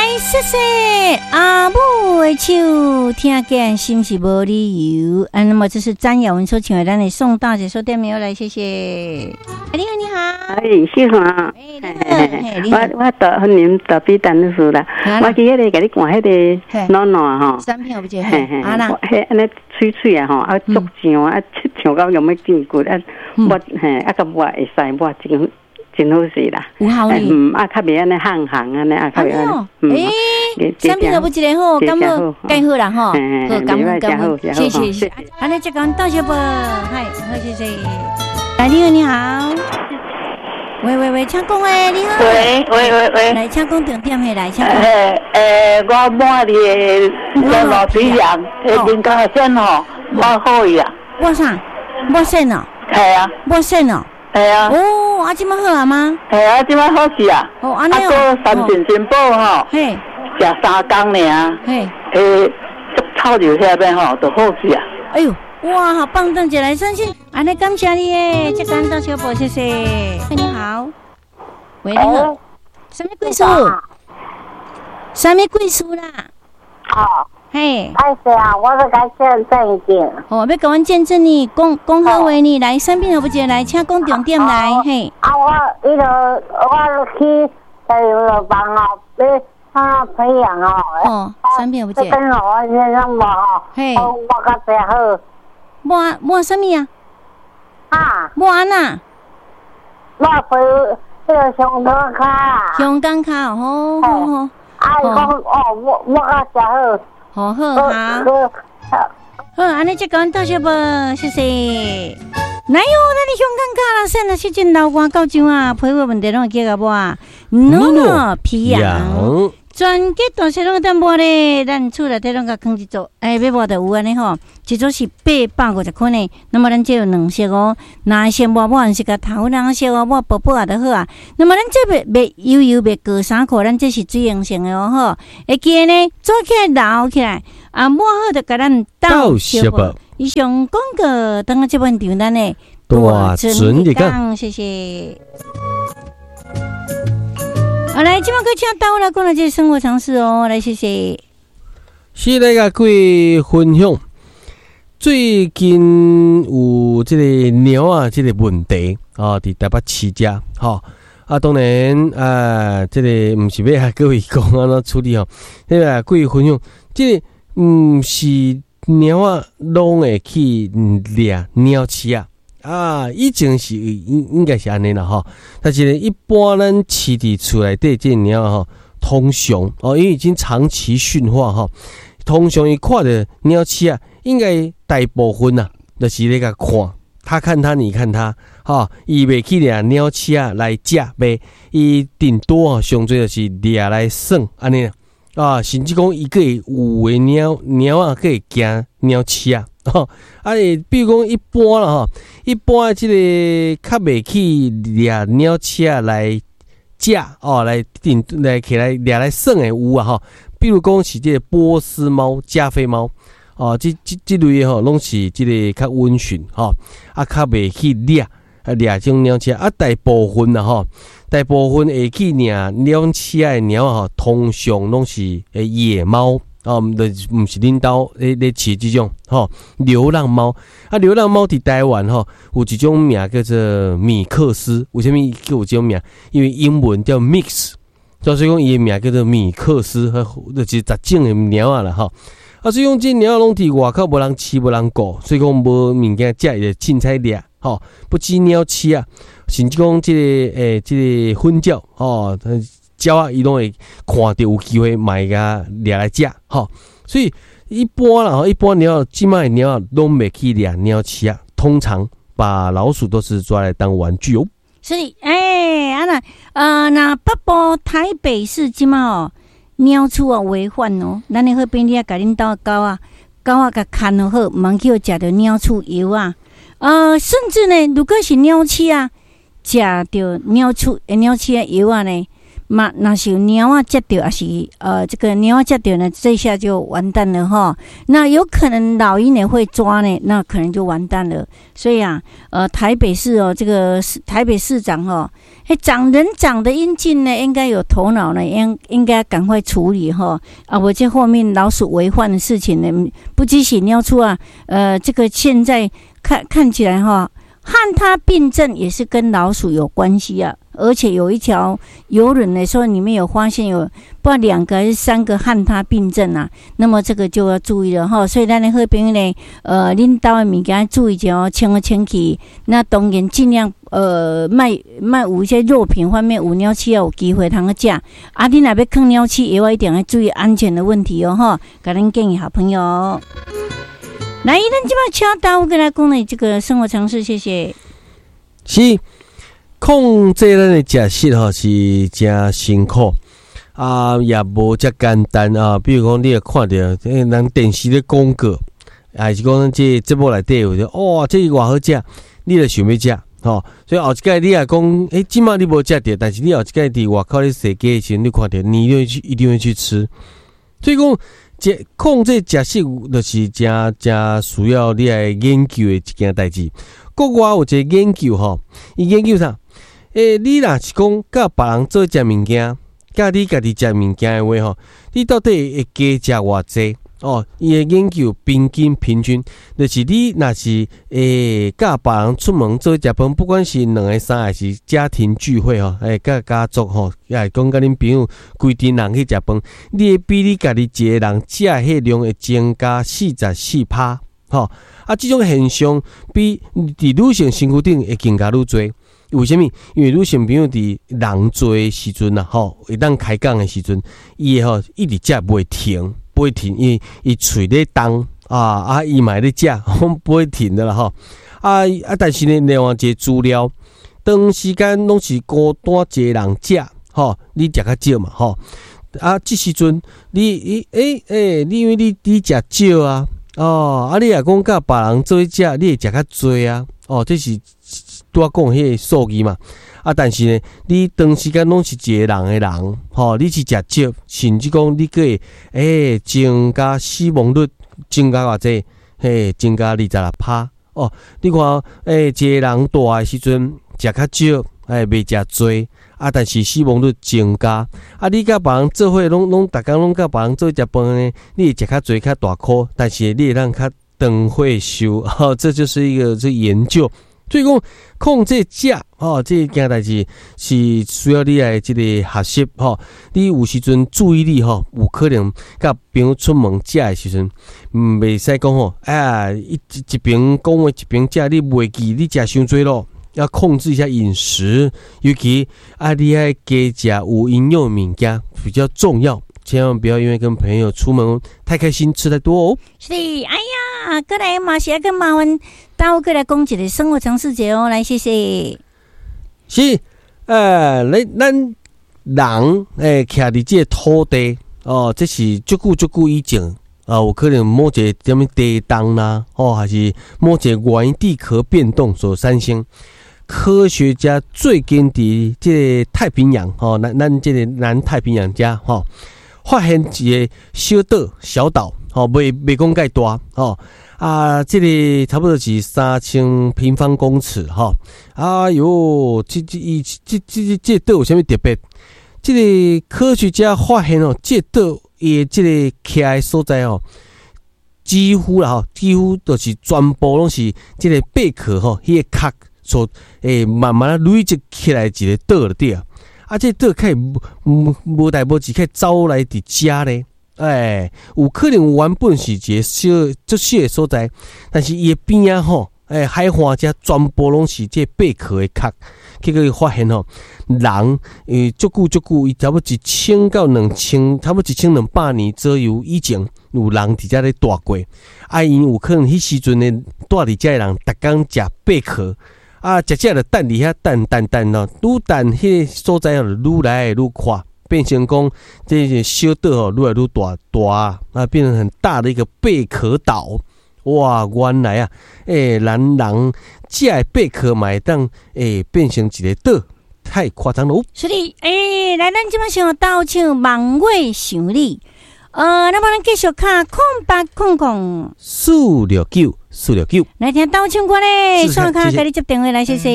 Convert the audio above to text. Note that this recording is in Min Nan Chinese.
來，謝謝阿母的手，聽見是毋是無理由？啊，那麼這是詹雅雯所唱的，咱的宋大姐說點名來，謝謝。你好，你好。哎，秀華。我特歡迎特比陳女士啦。我去彼個共你看彼個暖暖吼。產品有這個。啊啦。彼按呢脆脆啊吼，啊足上啊，上到用欲見骨啊，抹嘿啊，佮抹會使抹真。真好勢啦，有效呢。嗯，啊，較袂按呢烘烘按呢，啊，較袂按呢。欸，產品有一个好，感覺蓋好啦吼。好，感恩感恩，謝謝謝。按呢，這個多謝啵，嗨，好謝謝。來，你好，你好。喂喂喂，請講誒，你好。喂喂喂喂。來，請講重點的來，請講。欸，我抹佇個老皮痒，人家線吼，抹好去啊。抹啥？抹線哦。係啊。抹線哦。係啊。哦，啊，這擺好啊嗎？係啊，這擺好勢啊。哦，按呢哦。啊，閣三神珍寶吼，嘿，食3工爾，嘿，欸，臭尿遐邊吼，就好勢啊。哎喲，哇，好棒！鄧姐來相信，按呢感謝你耶，這間到小寶，謝謝。你好，喂，你好，啥物貴數？啥物貴數啦？哦。嘿，歹勢啊，我欲共見證一下。哦，欲共阮見證呢，講講好話呢，來，產品有不來，請講重點來，嘿。啊，我彼個我去在藥房哦，欲啊培養哦。哦，產品有不？這跟我先生無吼，嘿，我較濟好。抹抹啥物啊？啊？抹按怎？抹皮彼个香港跤。香港跤哦，好好。啊，伊講哦，抹抹較誠好。好好好，好，按呢這講多謝啵，謝謝。來喲，咱的香港跤啦，算啦，最近流汗到這啊，皮膚問題攏會叫共抹。暖暖皮癢。全國大細攏會當抹咧，咱厝內底攏共囥一組，欸，欲抹就有按呢吼，一組是850塊呢。那麼咱這有兩色哦，藍色抹抹是共頭藍色哦，抹薄薄啊就好啊。那麼咱這袂袂油油袂過衫褲，咱這是水溶性的哦吼，會記得呢，做起來留起來，啊，抹好就共咱鬥相報。以上廣告，等下這本場咱的大準日講，謝謝。好來，這擺閣請大來講來這個生活常識哦，來謝謝。是來共各位分享，最近有這個貓仔這個問題哦，佇台北市遮吼啊，當然啊，這個毋是欲共各位講按怎處理吼，彼個各位分享，這個毋是貓仔攏會去掠鳥鼠仔。啊，以前是應應該是按呢啦吼，但是呢，一般咱飼佇厝內底這貓吼，通常哦，因為已經長期馴化吼，通常伊看著鳥鼠仔，應該大部分啊，就是咧共看，他看他，你看他，吼，伊袂去掠鳥鼠仔來食袂，伊頂多吼，上濟就是掠來耍按呢啊，甚至講伊閣會有的貓貓仔閣會驚鳥鼠仔。吼，啊，比如講一般啦吼，一般這個較袂去掠鳥鼠仔來食哦，來定來起來掠來耍的有啊吼。比如講是這個波斯貓、加菲貓哦，這這這類的吼，攏是這個較溫馴吼，啊，較袂去掠啊掠這種鳥鼠仔啊，大部分啦吼，大部分會去掠鳥鼠仔的貓吼，通常攏是野貓。哦，毋就是毋是恁兜咧咧飼這種吼流浪貓啊，流浪貓佇台灣吼有一種名叫做米克斯，為啥物叫有這種名？因為英文叫 mix，所以講伊的名叫做米克斯，就是雜種的貓仔啦吼。啊，所以講這貓仔攏佇外口無人飼無人顧，所以講無物件食，伊就凊彩掠吼。不止鳥鼠仔，甚至講這個欸這個粉鳥吼。鳥仔伊攏會看著有機會嘛會共掠來食吼，所以一般啦吼，一般貓這擺的貓仔攏袂去掠鳥鼠仔，通常把老鼠都是抓來當玩具哦。所以，欸，啊若，若北部台北市這擺哦，鳥鼠啊為患哦，咱的好朋友共恁兜的狗仔，狗仔共牽好，毋通去予食著鳥鼠藥啊。甚至呢，如果是鳥鼠仔，食著鳥鼠鳥鼠仔藥仔呢，嘛，若是有貓仔食著，抑是這個貓仔食著呢，這下就完蛋了哈。那有可能老鷹也會抓呢，那可能就完蛋了。所以啊，台北市哦，這個台北市長哦，欸，長人長得英俊呢，應該有頭腦呢，應該趕快處理哈。啊，無這後面老鼠為患的事情呢，不只是貓鼠啊，這個現在看起來哈，漢他病症也是跟老鼠有關係啊。而且有一條郵輪呢，說裡面有發現有不知道兩個還是三個漢他病症啊，那麼這個就要注意了哈。所以咱的好朋友呢，恁兜的物件注意一下哦，清好清氣。那當然盡量莫莫有一些肉品方面有鳥鼠有機會通去食。啊，你若欲囥鳥鼠，也一定要注意安全的問題哦，哈。共恁建議好朋友。來，咱這擺請大夫過來講的這個生活常識，謝謝。是。控制咱的食食吼是誠辛苦啊，也無遮簡單啊。比如講，你會看著人電視咧廣告，還是講這節目內底有哇，這偌好食，你就想欲食吼。所以後一擺你若講，欸，這擺你無食著，但是你後一擺佇外口咧踅街的時陣，你看著，你一定會去吃。所以講，這控制食食就是誠誠需要你來研究的一件代誌。國外有一個研究吼，伊研究啥？欸，你若是講佮別人做伙食物件，佮你家己食物件的話吼，你到底會加食偌濟？哦，伊的研究平均平均，就是你若是會佮別人出門做伙食飯，不管是兩个三個，抑是家庭聚會吼，欸，佮家族吼，抑是講佮恁朋友規陣人去食飯，你會比你家己一個人食的彼量會增加44%，吼。啊，這種現象比佇女性身軀頂會更加愈濟。為啥物？因為女性朋友佇人濟的時陣啊，吼，會當開講的時陣，伊會吼一直食袂停，袂停，因為伊喙咧動啊啊，伊嘛會咧食，攏不會停的啦吼。啊啊，但是呢，另外一個資料，長時間攏是孤單一個人食，吼，你食較少嘛，吼。啊，這時陣你伊欸欸，你因為你你食少啊，哦，啊，你若講佮別人做伙食，你會食較濟啊，哦，這是拄仔講彼個數字嘛，啊，但是呢，你長時間攏是一個人的人，吼，你是食少，甚至講你閣會欸增加死亡率，增加偌濟，嘿，增加26%，哦，你看，欸，一個人蹛的時陣食較少，欸，袂食濟，啊，但是死亡率增加，啊，你佮別人做伙攏攏逐工攏佮別人做伙食飯呢，你會食較濟較大箍，但是你會當較長歲壽，吼，這就是一個這研究。所以講控制食吼，這件代誌是需要你來這個學習吼。你有時陣注意力吼，有可能佮朋友出門食的時陣，袂使講吼，哎，一一邊講話一邊食，你袂記你食傷濟咯。要控制一下飲食，尤其啊，你愛加食有營養的物件比較重要，千萬不要因為跟朋友出門太開心，吃太多哦。是，哎呀，過來嘛是愛閣麻煩，大夫過來講一個生活常識者哦，來謝謝。是，欸，咱人欸，徛佇這個土地哦，這是足久足久以前啊，有可能某一個啥物地動啦，哦，還是某一個原因地殼變動所產生。科學家最近佇這個太平洋，吼，咱咱這個南太平洋遮，吼，發現一個小島，小島，吼，袂袂講蓋大，吼，啊，這個差不多是3000平方公尺，吼，哎喲，這這伊這這這島有啥物特別？這個科學家發現哦，這島伊的這個徛的所在哦，幾乎啦吼，幾乎都是全部攏是這個貝殼吼，彼個殼所欸慢慢累積起來一個島就對啊。啊，這島較無無代無誌，較走來佇遮咧，欸，有可能原本是一個小足小的所在，但是伊的邊仔吼，欸，海岸遮全部攏是這貝殼的殼，結果伊發現吼，人欸足久足久，伊差不多1000到2000，差不多1200年左右以前，有人佇遮咧蹛過，啊，𪜶有可能彼時陣呢，蹛佇遮的人，逐工食貝殼。啊，食食就等佇遐等等等哦，愈等彼个所在就愈來愈闊，變成講這個小島吼愈來愈大大啊，變成很大的一個貝殼島。哇，原來啊，欸，咱人食的貝殼嘛會當欸變成一個島，太誇張囉。所以，來，咱這擺先鬥唱望月想你。那麼咱繼續敲0800 469 469，來聽鬥唱歌咧，試試看。刷卡共你接電話來，謝謝。